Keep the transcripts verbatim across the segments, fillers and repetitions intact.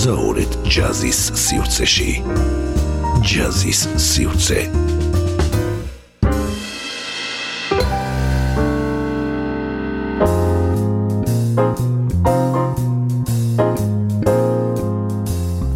მოგზაურეთ ჯაზის სივრცეში. ჯაზის სივრცე.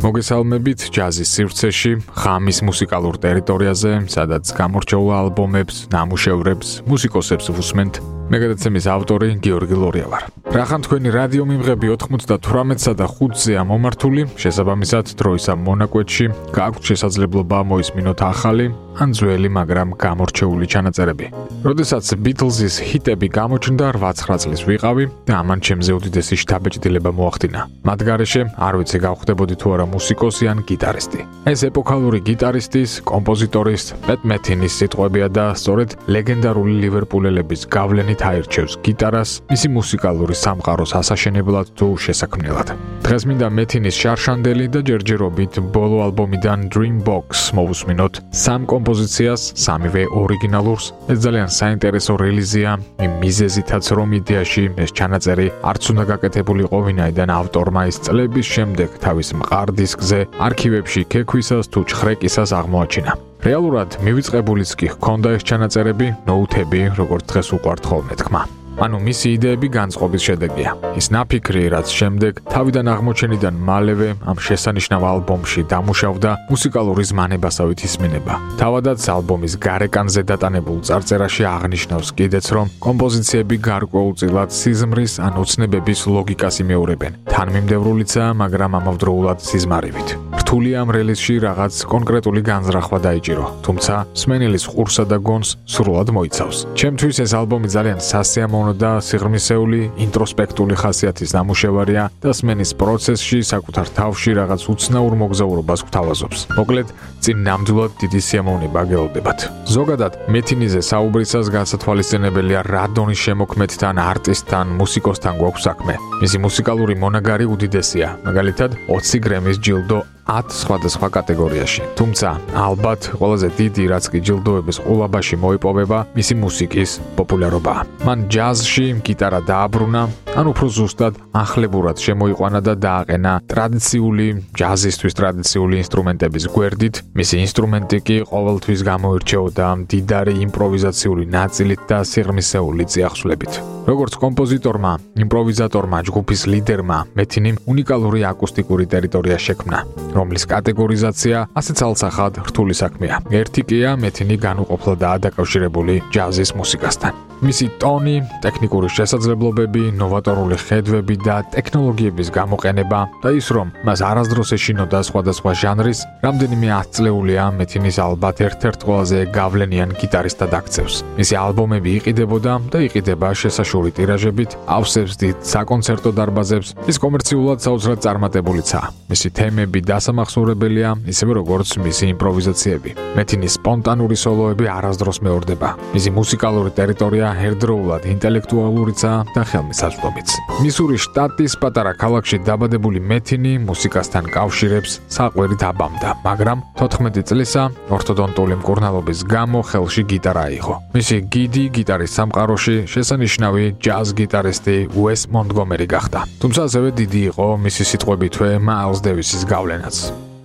მოგესალმებით ჯაზის სივრცეში, ხამის მუსიკალურ ტერიტორიაზე, სადაც გამორჩეულ ალბომებს, ნამუშევრებს, მუსიკოსებს ვუსმენთ. მე გადაცემის ავტორი გიორგი ლორია ვარ. რახან თქვენი რადიო მიმღები ოთხმოცდათვრამეტსა და ხუთზეა მომართული, შესაბამისად დროის ამ მონაკვეთში გააქვთ შესაძლებლობა მოისმინოთ ახალი ან ძველი, მაგრამ გამორჩეული ჩანაწერები. როდესაც ბიტლზის ჰიტები გამოჩნდა რვა-ცხრა წლის ვიყავი და ამან ჩემზე უდიდესი შთაბეჭდილება მოახდინა. მათ გარეშე არ ვიცი გავხდებოდი თუ არა მუსიკოსი ან გიტარისტი. ეს ეპოქალური გიტარისტის, კომპოზიტორის პეტ მეთინის სიტყვებია და სწორედ ლეგენდარული ლივერპულელების გავლენით აირჩევს გიტარას მისი მუსიკალური სამყაროს ასაშენებლად თუ შესაქმნელად. დღეს მინდა მეთინის შარშანდელი და ჯერჯერობით ბოლო ალბომიდან Dream Box მოვუსმინოთ სამ კომპოზიციას, სამივე ორიგინალურს. ეს ძალიან საინტერესო რელიზია, იმ მიზეზითაც რომ იდეაში ეს ჩანაწერი არც უნდა გაკეთებულიყო ვინაიდან ავტორმა ის წლების შემდეგ თავის მყარ დისკზე არქივებში ქექვისას თუ ჩხრეკისას აღმოაჩინა. რეალურად მივიწყებულიც კი ჰქონდა ეს ჩანაწერები, ნოუთები, როგორც დღეს უყვართ ხოლმე თქმა. ანუ მისი იდეები განწყობის შედეგია. ის ნაფიქრი, რაც შემდეგ თავიდან აღმოჩენიდან მალევე ამ შესანიშნავ ალბომში დამუშავდა მუსიკალური ზმანებასავით ისმინება. თავადაც ალბომის გარეკანზე დატანებულ წარწერაში აღნიშნავს კიდეც, რომ კომპოზიციები გარკვეულწილად სიზმრის ან ოცნებების ლოგიკას იმეორებენ. თანმიმდევრულიცაა, მაგრამ ამავდროულად სიზმარივით. რთული ამ რელიზში რაღაც კონკრეტული განზრახვა დაიჭირო, თუმცა მსმენელის ყურსა და გონს სრულად მოიცავს. ჩემთვის ეს ალბომი ძალიან სასიამოვნო და სიღრმისეული, ინტროსპექტული ხასიათის ნამუშევარია და სმენის პროცესში საკუთარ თავში რაღაც უცნაურ მოგზაურობას გვთავაზობს. მოკლედ, წინ ნამდვილად დიდი სიამოვნება გელოდებათ. ზოგადად, მეთინიზე საუბრისას გასათვალისწინებელია რა დონის შემოქმედთან, არტისტთან, მუსიკოსთან გვაქვს საქმე. მისი მუსიკალური მონაგარი უდიდესია, მაგალითად, ოცი გრემის ჯილდო ათ სხვადასხვა კატეგორიაში. თუმცა, ალბათ ყველაზე დიდი, რაც კი ჯილდოების ყოლაბაში მოიპოვება, მისი მუსიკის პოპულარობაა. მან ჯაზში გიტარა დააბრუნა, ან უფრო ზუსტად ახლებურად შემოიყვანა და დააყენა ტრადიციული, ჯაზისთვის ტრადიციული ინსტრუმენტების გვერდით. მისი ინსტრუმენტი კი ყოველთვის გამოირჩეოდა მდიდარი იმპროვიზაციული ნაწილით და სიღრმისეული წიაღსვლებით. როგორც კომპოზიტორმა, იმპროვიზატორმა, ჯგუფის ლიდერმა, მეთინიმ უნიკალური აკუსტიკური ტერიტორია შექმნა, რომლის კატეგორიზაცია ასე ცალსახად რთული საქმეა. ერთი კია მეთინი განუყოფლადაა დაკავშირებული ჯაზის მუსიკასთან. მისი ტონი, ტექნიკური შესაძლებლობები, ნოვატორული ხედვები და ტექნოლოგიების გამოყენება და ის რომ მას არასდროს ეშინოდა სხვადასხვა ჟანრის, რამდენიმე ათწლეულია მეთინის ალბათ ერთ-ერთ ყველაზე გავლენიან გიტარისტად აქცევს. მისი ალბომები იყიდებოდა და იყიდება შესაშური ტირაჟებით, ავსებს დიდ საკონცერტო დარბაზებს, ის კომერციულად საოცრად წარმატებულიცაა. მისი თემები დასამახსოვრებელია, ისევე როგორც მისი იმპროვიზაციები. მეთინის სპონტანური სოლოები არასდროს მეორდება. მისი მუსიკალური ტერიტორია ერთდროულად ინტელექტუალურიცაა და ხელმისაწვდომიც. მისურის შტატის პატარა ქალაქში დაბადებული მეთინი მუსიკასთან კავშირებს საყვერით აბამდა, მაგრამ თოთხმეტი წლისა ორთოდონტული მკურნალობის გამო ხელში გიტარა აიღო. მისი გიდი გიტარის სამყაროში შესანიშნავი ჯაზ გიტარისტი უეს მონტგომერი გახდა. თუმცა ასევე დიდი იყო მისი სიტყვებითვე მაილს დევისის გავლენაც.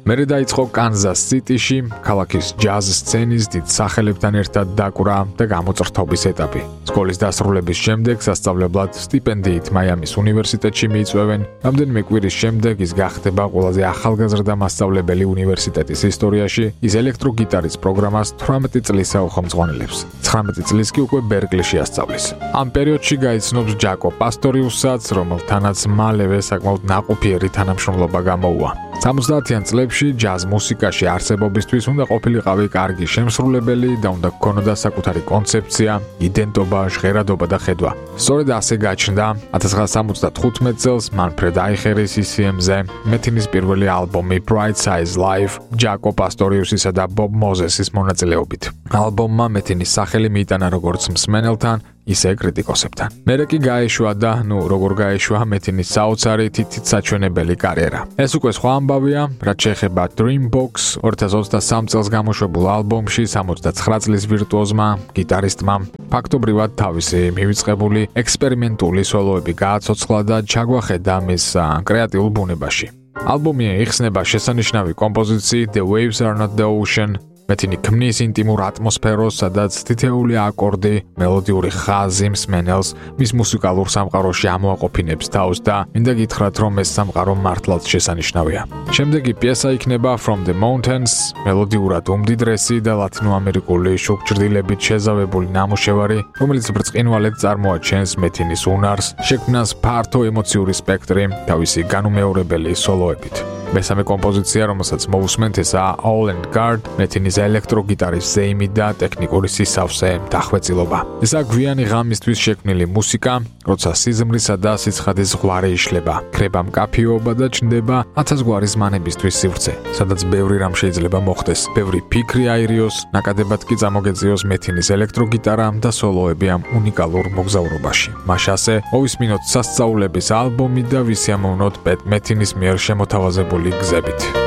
მერე დაიწყო კანზას სიტიში, ქალაქის ჯაზ სცენის დიდ სახელებთან ერთად დაკვრა და გამოწრთობის ეტაპი. სკოლის დასრულების შემდეგ სასწავლებლად სტიპენდიით მაიამის უნივერსიტეტში მიიწვევენ. რამდენიმე კვირის შემდეგ ის გახდება ყველაზე ახალგაზრდა მასწავლებელი უნივერსიტეტის ისტორიაში. ის ელექტროგიტარის პროგრამას თვრამეტი წლისა უხელმძღვანელებს. ცხრამეტი წლის კი უკვე ბერკლიში ასწავლის. ამ პერიოდში გაიცნობს ჯაკო პასტორიუსსაც, რომელთანაც მალევე საკმაოდ ნაყოფიერი თანამშრომლობა გამოუვა. სამოცდაათიან წლებში ჯაზ მუსიკაში არსებობისთვის უნდა ყოფილიყავი კარგი შემსრულებელი და უნდა გქონოდა საკუთარი კონცეფცია, იდენტობა, ჟღერადობა და ხედვა. სწორედ ასე გაჩნდა ათას ცხრაასა სამოცდათხუთმეტ წელს მანფრედ აიხერის ი სი ემ-ზე მეთინის პირველი ალბომი Bright Size Live ჯაკო პასტორიუსისა და ბობ მოზესის მონაწილეობით. ალბომმა მეთინის სახელი მიიტანა როგორც მსმენელთან, ისე კრიტიკოსებთან. მერე კი გაეშვა და, ნუ როგორ გაეშვა მეთინის საოცარი თითით საჩვენებელი კარიერა. ეს უკვე სხვა ამბავია, რაც შეეხება Dream Box ორი ათას ოცდასამ წელს გამოშვებულ ალბომში სამოცდაცხრა წლის ვირტუოზმა, გიტარისტმა ფაქტობრივად თავისი მივიწყებული ექსპერიმენტული სოლოები გააცოცხლა და ჩაგვახედა მის კრეატიულ ბუნებაში. ალბომი იხსნება შესანიშნავი კომპოზიციით The Waves Are Not The Ocean, მეთინი ქმნის ინტიმურ ატმოსფეროს, სადაც თითეული აკორდი, მელოდიური ხაზი მსმენელს მის მუსიკალურ სამყაროში ამოაყოფინებს თავს და მინდა გითხრათ, რომ ეს სამყარო მართლაც შესანიშნავია. შემდეგი პიესა იქნება From The Mountains, მელოდიურად უმდიდრესი და ლათინოამერიკული შუქჭრდილებით შეზავებული ნამუშევარი, რომელიც ბრწყინვალედ წარმოაჩენს მეთინის უნარს, შექმნას ფართო ემოციური სპექტრი თავისი განუმეორებელი სოლოებით. მესამე კომპოზიცია, რომელსაც მოვუსმენთ, ესაა All and Guard, მეთინის ელექტროგიტარის ზეიმი და ტექნიკური სისავსე დახვეწილობა. ესაა გვიანი ღამისთვის შექმნილი მუსიკა, როცა სიზმრისა და სიცხადის ზღვარი იშლება, ქრება მკაფიობა და ჩნდება ათასგვარი ზმანებისთვის სივრცე, სადაც ბევრი რამ შეიძლება მოხდეს, ბევრი ფიქრი აირიოს, ნაკადებად კი წამოგეწიოს მეთინის ელექტროგიტარა და სოლოები ამ უნიკალურ მოგზაურობაში. მაშასე, მოვისმინოთ სასწაულების ალბომი და ვისიამოვნოთ მეთინის მიერ შემოთავაზებული გზებით.